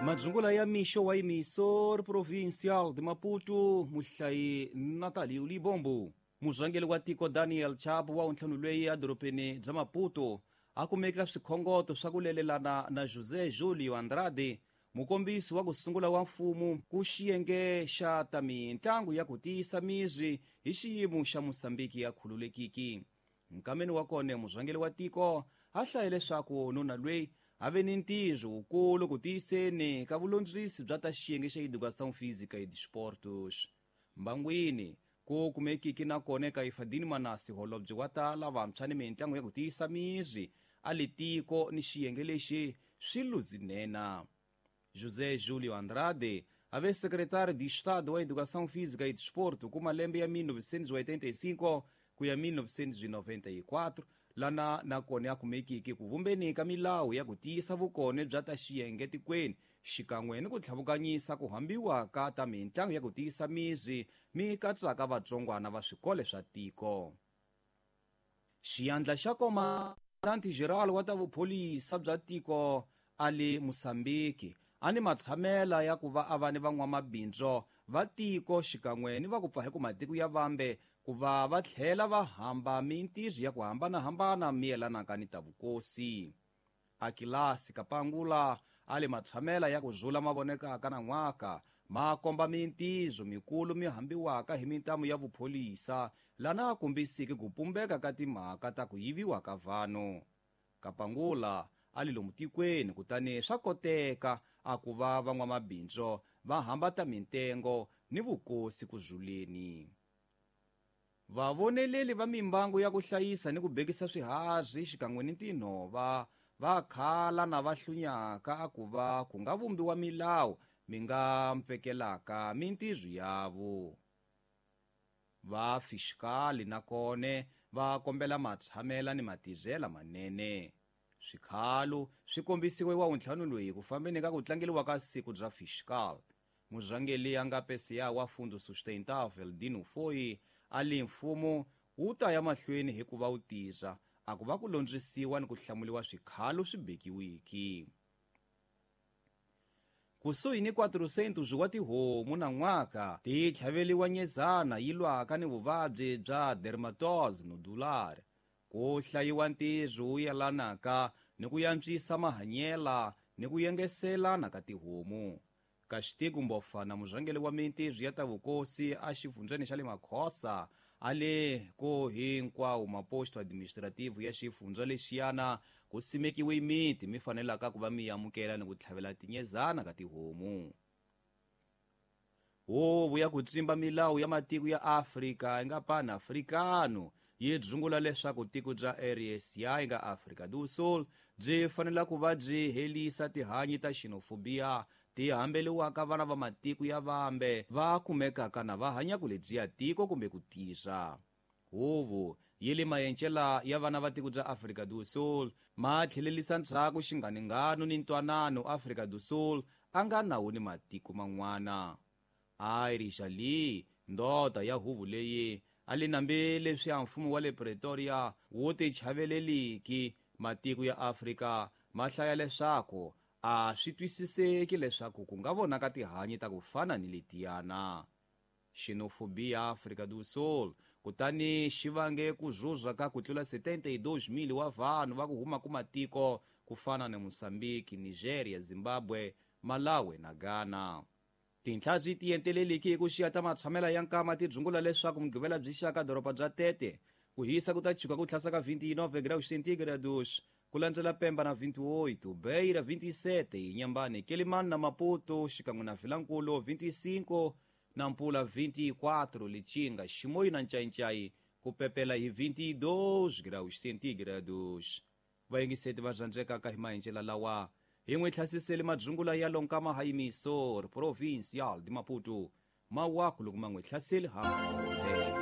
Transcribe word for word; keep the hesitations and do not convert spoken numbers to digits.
Madzungula ya mixo wa emissor provincial de Maputo, muhlayi Natalio Libombo. Murhangeri wa tiko Daniel Chapo wa ntlhanu loyi edorobeni bya Maputo a kumeka swikhongoto swa ku lelelana na José Julio Andrade, mukombisi wa ku sungula wa mfumo ku xiyenge xa ta mintlangu ya ku tiyisa miri hi xiyimo xa Mosambiki ya khululekiki. Nkameni wa kona murhangeri wa tiko a hlaye leswaku nuna loyi a ve ni ntirho wukulu ku tiyiseni ka vulondzisi bya ta xiyenge xa educação física e desportos. Mbangwini ku kumekiki na kona ka Ifadini Manasi, holobye wa ta lavantshwa ni mintlangu ya ku tiyisa miri a li tiko ni xiyenge lexi swi luzinena. José Julio Andrade a ve secretário de Estado wa Educação Física e Desporto ku malembe ya mil novecentos e oitenta e cinco ku ya mil novecentos e noventa e quatro, lana na kona ya kumekiki ku vumbeni ka milawu ya ku tiyisa vukone bya ta xiyenge tikweni xikan'we ni ku tlhavukanyisa ku hambiwa ka ta mintlangu ya ku tiyisa miri mi katsaka vatsongwana va swikolo swa tiko. Xiyandla xa Comandante Geral wa ta vupholisa bya tiko a le Mosambiki a ni matshamela ya ku va a va ni van'wamabindzu va tiko xikan'we ni va ku pfa hi ku matiko ya vambe ku va va tlhela va hamba mintirho ya ku hambanahambana mi yelanaka ni ta vukosi. Akilasi Kapangula a le matshamela ya ku zula mavonekaka na n'waka ma komba mintirho mikulu mi hambiwaka hi mintamu ya vupholisa lana a kombisiki ku pumbeka ka timhaka ta ku yiviwa ka vanhu. Kapangula a li lomu tikweni kutani swa koteka a ku va van'wamabindzu va hambata mintengo ni vukosi ku zuleni. Vavoneleli va mimbangu ya ku hlayisa ni ku bekisa swiharhi xikan'we ni tinhova va khala na va hlunyaka a ku va ku nga vumbiwa milawu mi nga mpfekelaka mintirho yavo. Va fiskali na kone va kombela matshamela ni matirhela manene. Swikhalo swi kombisiwe wa ntlhanu loyi ku fambeni ka ku tlangeliwa ka siku bya fiscal. Murhangeri a nga pesiya wa Fundo Sustentável Dino Foi a li mfumo wu ta ya mahlweni hikuva wu tisa a ku va ku londzisiwa ni ku hlamuliwa swikhalo swi bekiwiki. Kusuhi ni quatrocentos wa tihomu na n'waka ti tlhaveliwa nyezana yi lwaka ni vuvabyi bya dermatose nodular. Ku hlayiwa ntirho wu yelanaka ni ku yantswisa mahanyela ni ku yengeselana ka tihomu. Castigo Mbofana, murhangeri wa mintirho ya ta vukosi a xifundzheni xa le Makhosa, a le ko hinkwawo maposto administrativo ya xifundza lexiyana ku simekiwe miti mi fanelaka ku va mi amukela ni ku tlhavela tinyezana ka tihomu. Huvo ya ku tsimba milawu ya matiko ya Afrika yi nga Pan-Africano yi dzungula leswaku tiko bya R S A yi nga Afrika do Sul byi fanela ku va byi helisa tihanyi ta xenofobia ti hambeliwaka vana va matiko ya vambe va kumekaka na va hanya ku lebyiya tiko kumbe ku tisa. Huvo yi le mayencela ya vana va tiko bya Afrika do Sul ma tlhelelisa ndzhaku xinganingano ni ntwanano Afrika do Sul a nga nawu ni matiko man'wana. Irish Ali, ndoda ya huvo leyi a li nambe leswi ya mfumo wa le Pretoria wu ti chaveleliki matiko ya Afrika ma hlaya leswaku a swi twisiseki leswaku ku nga vonaka tihanyi ta ku fana ni letiyana. Xenofobia Afrika do Sul kutani xi vange ku zuza ka ku tlula setenta e dois mil wa vanhu va ku huma ku matiko ku fana na Mozambique, Nigeria, Zimbabwe, Malawi na Ghana. Tinhla byi tienteleliki hi ku xiya ta matshamela ya nkama ti dzungula leswaku mugqivela byi xaka doroba bya Tete ku hisa ku ta chuka ku tlhasa ka vinte e nove graus centígrados ku landzela Pemba na vinte e oito, Beira vinte e sete, Inhambane, Quelimane na Maputo xikan'we na Vilankulo vinte e cinco, Nampula vinte e quatro, Lichinga, Chimoio na Nchainchai ku pepela hi vinte e dois graus centígrados. Vayingiseti va rhandzekaka hi maendlelo lawa hi n'wi hlasisele madzungula ya lonkama ha emisor provincial de Maputo mawaku loko ma n'wi hlaseli ha.